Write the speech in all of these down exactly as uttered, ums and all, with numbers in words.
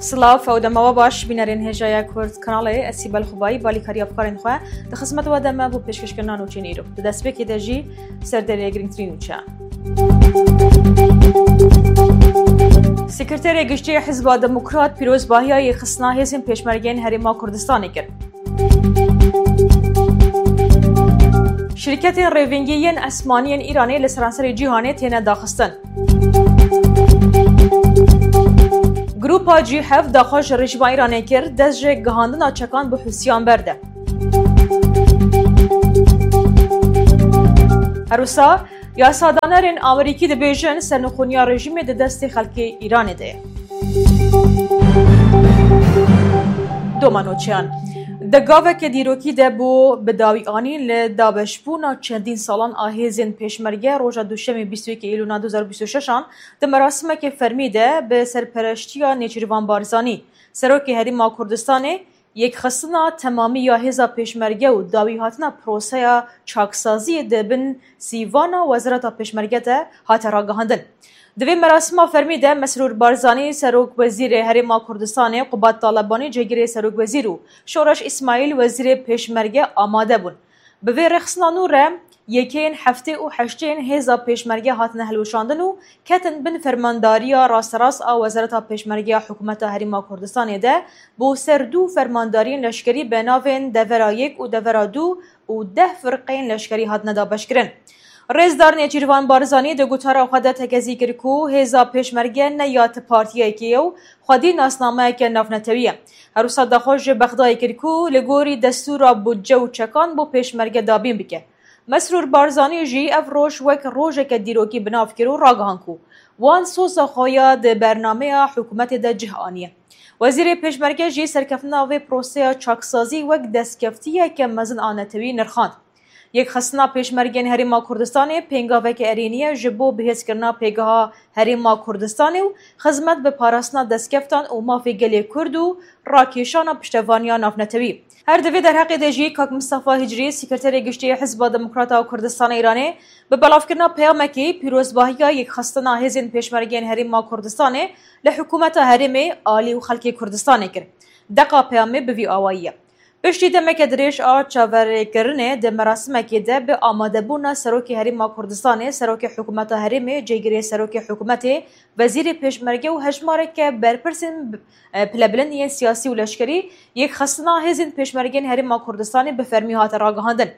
Silav, ew dema we baş, bînerên hêjaya Kurd Kanalê, ez Sîbel Xubayî, balîkariya afkarên xwe, di xizmet we de me bo pêşkêşkirina nûçeyên îro. Di destpêkê de jî serdêrê girîngtirîn nûçe. Sekreterê Giştî Hizba Demokrat pîrozbahiya yêxistina hêzên pêşmergeyên Herêma Kurdistanê kir. Şîrketên rêvîngî yên esmanî yên Îranê li seranserê cîhanê têne daxistin. Grupa G heft daxwaz ji rejîma Îranê kir, dest ji gihandina çekan bi Hûsiyan berde. Her wisa, yasadanerên Amerîkî dibêjin, sernixûniya rejîmê di destê xelkê Îranê de ye. Doma nûçeyan. Di gaveke dîrokî de bû bi dawî anîn li dabeşbûna çendîn salan a hêzên pêşmerge roja Duşemê bîst û yekê Îlûna du hezar û bîst û şeş an di merasimeke fermî de bi serpereştiya Nêçîrvan Barzanî, Serokê Herêma Kurdistanê, yekxistina temamî ya hêza pêşmerge û dawîhatina proseya çaksaziyê di bin sîvana Wezareta Pêşmerge de hate ragihandin. Di vê merasima fermî de Mesrûr Barzanî, Serokwezîrê Herêma Kurdistanê, Qubat Talebanî, Cihgirê Serokwezîr û Şoreş Îsmaîl, Wezîrê Pêşmerge amade bûn. Bi vê rêxistina nû re, yekeyên heftê û heştê yên hêza pêşmerge hatine hilweşandin û ketin bin fermandariya rasterast a Wezareta Pêşmerge ya Hikûmeta Herêma Kurdistanê de bo ser du fermandariyên leşkerî bi navên Devera Yek û Devera Du û deh firqeyên leşkerî hatine dabeşkirin. Rêzdar Nêçîrvan Barzanî di gotara xwe de tekezî kir ku hêza pêşmerge ne ya ti partiyekê ye û xwedî nasnameyeke navnetewî ye. Her wisa daxwaz ji Bexdayê kir ku li gorî destûra budce û çekan bo pêşmerge dabîn bike. Mesrûr Barzanî jî ev roj wek rojeke dîrokî bi nav kir û ragihan ku wan soza xwe ya di bernameya hikûmetê de cih aniye. Wezîrê Pêşmerge jî serkeftina vê proseya çaksazî wek destkeftiyeke mezin a netewî nirxand. Yekxistina Pêşmergên Herêma Kurdistanê pêngaveke erênî ye ji bo bihêzkirina pêgeha Herêma Kurdistanê û xizmet bi parastina destkeftan û mafê gelê Kurd û rakêşana piştevaniya navnetewî. Her di vê derheqê de jî kak Mistefa Hicrî, Sekreterê Giştî Hizba Demokrata Kurdistana Îranê, bi belavkirina peyamekê pîrozbahiya yekxistina hêzên pêşmergeyên Herêma Kurdistanê li hikûmeta herêmê, alî û xelkê Kurdistanê kir. Deqa peyamê bi vî awayî ye. Piştî demeke dirêj a çaverêkirinê di merasimekê de bi amadebûna Serokê Herêma Kurdistanê, Serokê Hikûmeta Herêmê, Cêgirê Serokê Hikûmetê, Wezîrê Pêşmerge û hejmareke berpirsên, e, pilebilind yên siyasî û leşkerî, yekxistina hêzên pêşmergên Herêma Kurdistanê bi fermî hate ragihandin.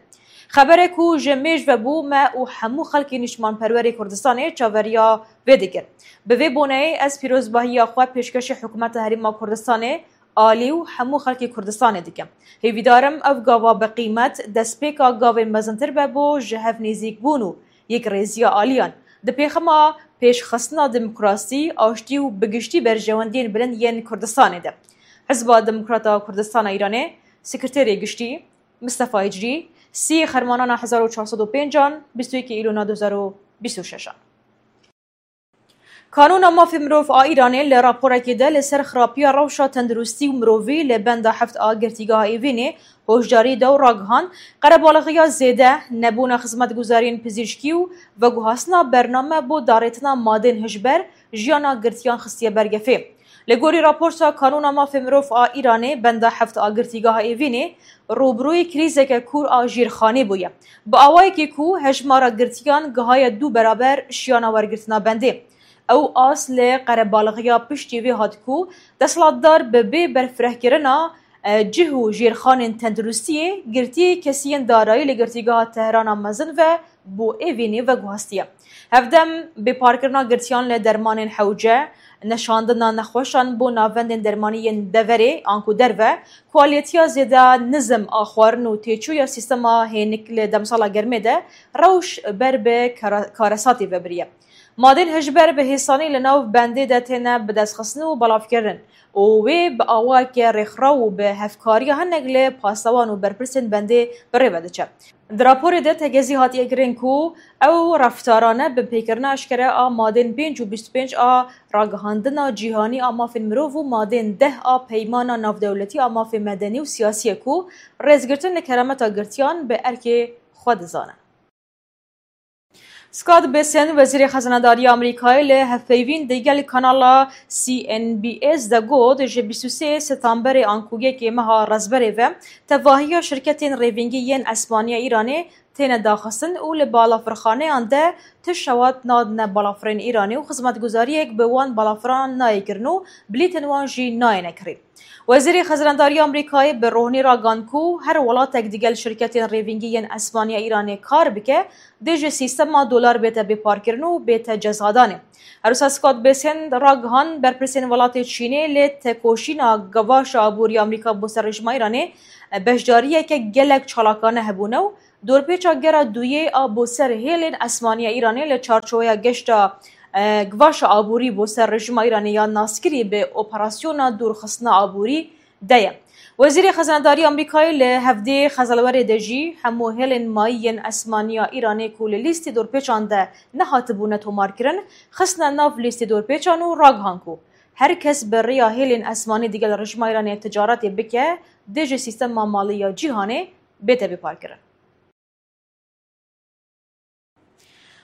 Xebere ku ji mêj ve bû, me û hemû xelkê nîştimanperwerê Kurdistanê çaveriya vê dikir. Bi vê boneyê ez pîrozbahiya xwe pêşkêşî Hikûmeta Herêma Kurdistanê, alî û hemû xelkê Kurdistanê dikim. Hêvîdar im ev gava bi qîmet destpêka gavên mezintir be bo ji hev nêzîkbûn û yekrêziya aliyan di pêxema pêşxistina demokrasî, aştî û bi giştî berjewendiyên bilind yên Kurdistanê de. Hizba Demokrata Kurdistana Îranê, Sekreterê Giştî Mistefa Hicrî, sî Xermanana hezar û çar sed û pênc an, bîst û yekê Îlona du hezar û bîst û şeş an. Kanûna Mafê Mirov a Îranê li raporekê de li ser xirapiya rewşa tenduristî û mirovî li benda heft a girtîgeha Êvînê hoşdarî da û ragihand, qerebalixiya zêde, nebûna xizmetguzariyên pizîşkî û veguhastina bername bo darêtina madên hişber jiyana girtiyan xistiye ber gefê. Li gorî raporta Kanûna Mafê Mirov a Îranê, benda heft a girtîgeha Êvînê, rûbirûyî krîzeke kûr a jêrxanî bûye. Bi awayekî ku hejmara girtiyan gihaye du beraber şiyana wergirtina bendê. Ew as li qerebalixiya piştî vê hat ku desthilatdar bi bê berfirehkirina, e, cih û jêrxanên tenduristiyê girtiyê kesiyên darayî li girtîgeha Tehrana mezin ve bo Êvînê veguhastiye. Hevdem bêparkirina girtiyan li dermanên hewce, neşandina nexweşan bo navendên dermanî yên deverê anku derve, kualîtiya zêde nizm a xwarin û têçûya sîstema hênik li demsala germê de rewş ber bi kara-, karesatê ve biriye. Madên hişber bi hêsanî li nav bendê de têne bidestxistin û belavkirin û wê bi awayeke rêkxiraw û bi hevkariya hinek li pasewan û berpirsên bendê bi rê ve diçe. Di raporê de tegezî hatiye kirin ku ew reftarane bi pêkirina eşkere a madên pênc û bîst û pênc a Ragihandina Cîhanî a Mafên Mirov û madên deh a Peymana Navdewletî a Mafê Medenî û Siyasî ye ku rêzgirtin li kerameta girtiyan bi erkê xwe dizane. Scott Bessent, Wezîrê Xezinedariya Amerîkayê li hevpeyvîn digel kanala C N B S de got, ji bîst û sê Setemberê anku yekê meha Rezberê ve tevahiya şirketên rêvîngî yên esmaniya Îranê têne daxistin û li balafirxaneyan de ti şewat nadine balafirên Îranê û xizmetguzariyek bi wan balafiran nayê kirin û bilîtên wan jî nayêne kirîn. Wezîrê Xezinedariya Amerîkayê bi rohnî ragihan ku her welatek digel şirketên rêvîngî yên esmaniya Îranê kar bike, dê ji sîstema dolar bête bêparkirin û bête cezadanê. Her wisa Scott Bessent ragihan, berpirsên welatê Çînê li tekoşîna givaşa aborî Amerîka bo ser rejîma Îranê beşdariyeke gelek çalakane hebûne û dorpêça gera duyê a bo ser hêlên esmaniya Îranê li çarçoweya geşta, e, givaşa aborî bo ser rejîma Îranê ya naskirî bi operasyona dûrxistina aborî de ye. Wezîrê Xezinedariya Amerîkayê li hevdê Xezelwerê de jî hemû hêlên mayî yên esmaniya Îranê ku li lîstê dorpêçan de nehatibûne tomarkirin, xistine nav lîstê dorpêçan û ragihan ku her kes bi rêya hêlên esmanî digel rejîma Îranê ticaretê bike, dê ji sîstema malî ya cîhanê bête bêparkirin.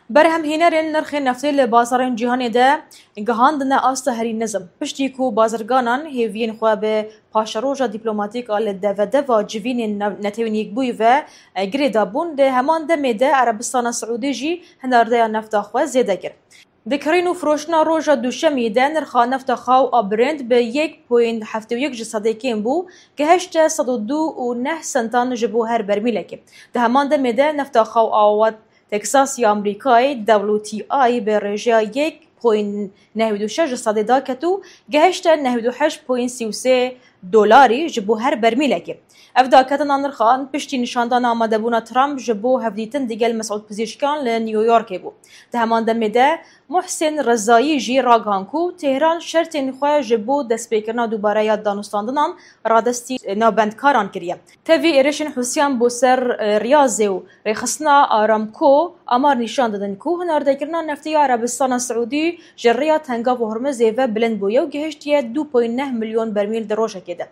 Berhemhênerên nirxên neftê li bazarên cîhanê de gihandine asta herî nizm. Piştî ku bazirganan hêviyên xwe bi paşeroja dîplomatîk a li devedeva civînên ne-, Netewên Yekbûyî ve, e, girêdabûn, di heman demê de Erebistana Siûdî jî hinardeya nefta xwe zêde kir. Di kirîn û firoştina roja Duşemî de nirxa nefta xaw a Brent bi yek point heft û yek ji sedê kêm bû, gihişte sed û du û neh sentan ji bo her bermîlekê. Di heman demê de nefta xaw a West Texas ya Amerîkayê, W T I, bi rêjeya yek point neh û du şeş ji sedê daket û gihişte neh û du heşt point sî û sê dolarî ji bo her bermîlekê. Ev daketina nirxan piştî nîşandana amadebûna Trump ji bo hevdîtin digel Mesûd Pizîşkiyan li New Yorkê bû. Di heman demê de Muhsin Rezayî jî ragihan ku Tehran şertên xwe ji bo destpêkirina dubare ya danûstandinan radestî navbendkaran kiriye. Tevî êrişên Hûsiyan bo ser, e, Riyazê û rêxistina Aramco amar nîşan didin ku hinardekirina neftê ya Erebistana Siûdî ji rêya Tengav û Hormizê ve bilind bûye û gihiştiye du point neh milyon bermîl di rojekê de.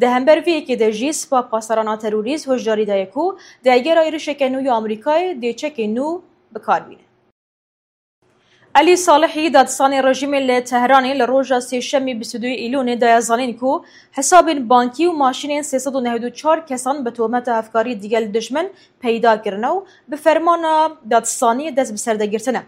Di hember vê yekê de jî Sipa Pasdarana Terorîst hişdarî daye ku di egera êrişeke nû ya Amerîkayê dê çekê nû bi kar bîne. Elî Salihî, dadstanê rejîmê li Tehranê li roja Sêşemî bîst û duyê Îlonê daye zanîn ku hesabên bankî û maşînên sê sed û nehêd û çar kesan bi tometa hevkarî digel dijmin peyda kirine û bi fermana dadstaniyê dest bi ser de girtine.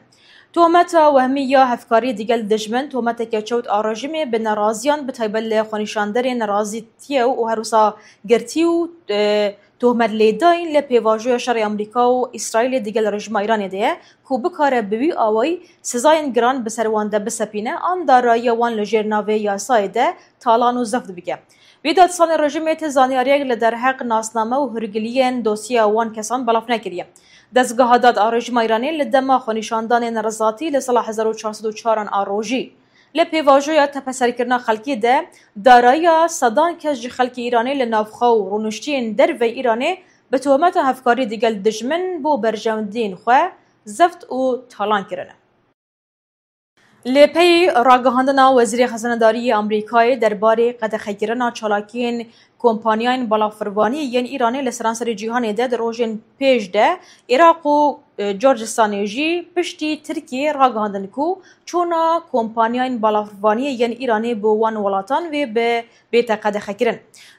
Tometa wehmî ya hevkarî digel dijmin tometeke çewt a rejîmê bi neraziyan, bi taybet li xwenîşanderên nerazîtiyê û her wisa girtî û, e, tohmet lêdayîn li pêvajoya şerê Amerîka û Îsraîlê digel rejîma Îranê de ye ku bikare bi wî awayî sizayên giran bi ser wan de bisepîne an darayiya wan li jêr navê yasayê de talan û zeft bike. Vî dadstanê rejîmê ti zanyariyek li derheq nasname û hûrgiliyên dosyeya wan kesan belav nekiriye. Dezgeha dad a rejîma Îranê li dema xwenîşandanên nerizatî li sala hezar û çar sed û çar an a rojî, li pêvajoya tepeserkirina xelkê de darayiya sedan kes ji xelkê Îranê li navxwe û rûniştiyên derveyî Îranê bi tometa hevkarî digel dijmin bo berjewendiyên xwe zeft û talan kirine. Li pey ragihandina Wezîrê Xezinedarî yê Amerîkayê derbarê qedexekirina çalakiyên kompanyayên balafirvanî yên Îranê li seranserê cîhanê de di rojên pêş de Iraq û, e, Gurcistanê jî piştî Tirkiyê ragihandin ku çûna kompanyayên balafirvaniyê yên Îranê bo wan welatan wê bi bête qedexekirin.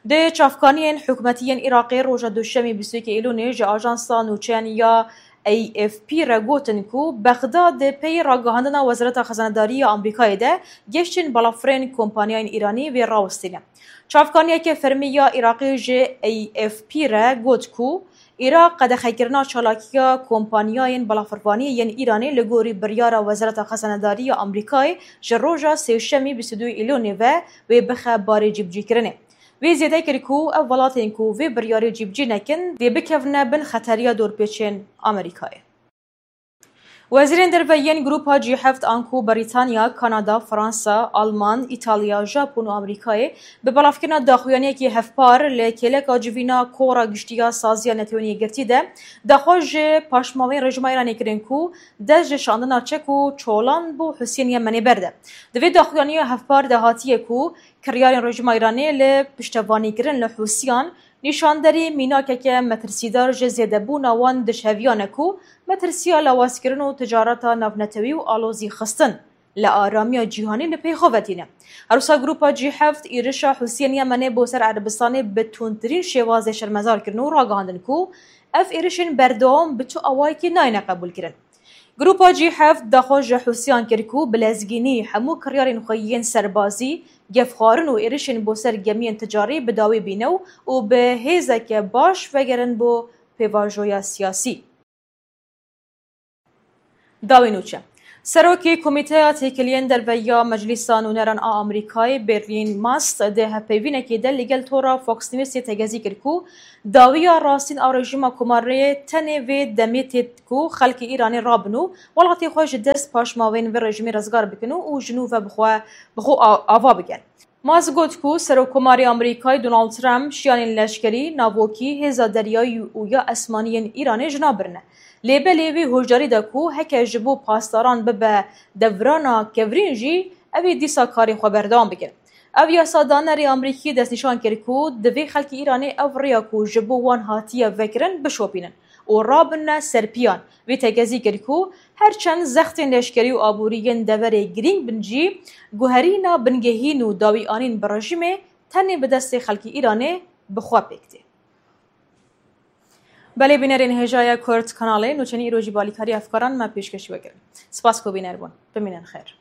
Di çavkaniyên hikûmetî yên Iraqê roja Duşemê bîst û yekê Îlonê ji ajansa nûçeyan ya A F P re gotin ku Bexdad di pey ragihandina Wezareta Xezanedarî ya Amerîkayê de geştên balafirên kompanyayên Îranî wê rawestîne. Çavkaniyeke fermî ya Iraqê ji A F P re got ku Iraq qedexekirina çalakiya kompanyayên balafirvaniyê yên Îranê li gorî biryara Wezareta Xezanedarî ya Amerîkayê ji roja Sêşemî bîst û du Îlonê ve wê bixe barê cîbicîkirinê. Wê zêde kir ku ev welatên ku vê biryarê cîbicî nekin, dê bikevine bin xeteriya dorpêçên Amerîkayê. Wezîrên derve yên Grupa G heft anku Brîtanya, Kanada, Fransa, Alman, Îtalya, Japon û Amerîkayê bi belavkirina daxuyaniyekî hevpar li kêleka civîna Kora Giştî ya Saziya Netewên Yekgirtî de daxwaz ji paşmavên rejîma Îranê kirin ku dest ji şandina çek û çolan bo Husiyên Yemenê berde. Di vê daxuyaniya hevpar de hatiye ku kiryarên rejîma Îranê li piştevanîkirin li Husiyan Nîşanderî mînakeke metirsîdar ji zêdebûna wan dişeviyan e ku metirsiya lawazkirin û ticareta navnetewî û alozî xistin li aramiya cîhanî li pey xwe ve tîne. Her wisa Grupa G heft êrişa Hûsiyên Yemenê bo ser Erebistanê bi tundtirîn şêwazê şermezar kirin û ragihandin ku ev êrişên berdewam bi tu awayekî nayêne qebûlkirin. Grupa G heft daxwaz ji Hûsiyan kir ku bi lezgînî hemû kiryarên xwe yên serbazî, gefxwarin û êrişên bo ser gemiyên ticarî bi dawî bîne û, û bi hêzeke baş vegerin bo pêvajoya siyasî. Dawî nûçe. Serokê Komîteya Têkiliyên Derve ya Meclîsa Nûneran a Amerîkayê, Berlin Mast, di hevpeyvînekê de li gel tora Fox Newsê tegezî kir ku dawiya rastîn a rejîma Komarê tenê vê demê tê ku xelkê Îranê rabin û welatê xwe ji dest paşmavên vê rejîmê rizgar bikin û, û ji nû ve bi xwe, bi xwe a-, ava bikin. Musk got ku Serokkomarê Amerîkayê Donald Trump şiyanên leşkerî, navokî, hêza deryayî û ya esmanî yên Îranê ji nav birine. Lê belê wî hişdarî da ku heke ji bo pasdaran bibe devrana kevirîn jî, ew ê dîsa karê xwe berdewam bikin. Ev yasadanerê Amerîkî destnîşan kir ku divê xelkê Îranê ev rêya ku ji bo wan hatiye vekirin bişopînin û rabine ser piyan. Wî tegezî kir ku her çend zextên leşkerî û aborî yên deverê girîng bin jî, guherîna bingehîn û dawîanîn bi rejîmê tenê bi destê xelkê Îranê bi xwe pêk tê. Belê bînerên hêja ya Kurd Kanalê, nûçenî îro jî bi alîkarî hevkaran me pêşkêşî we kirin. Spas ku bîner bûn. Bimînin xêr.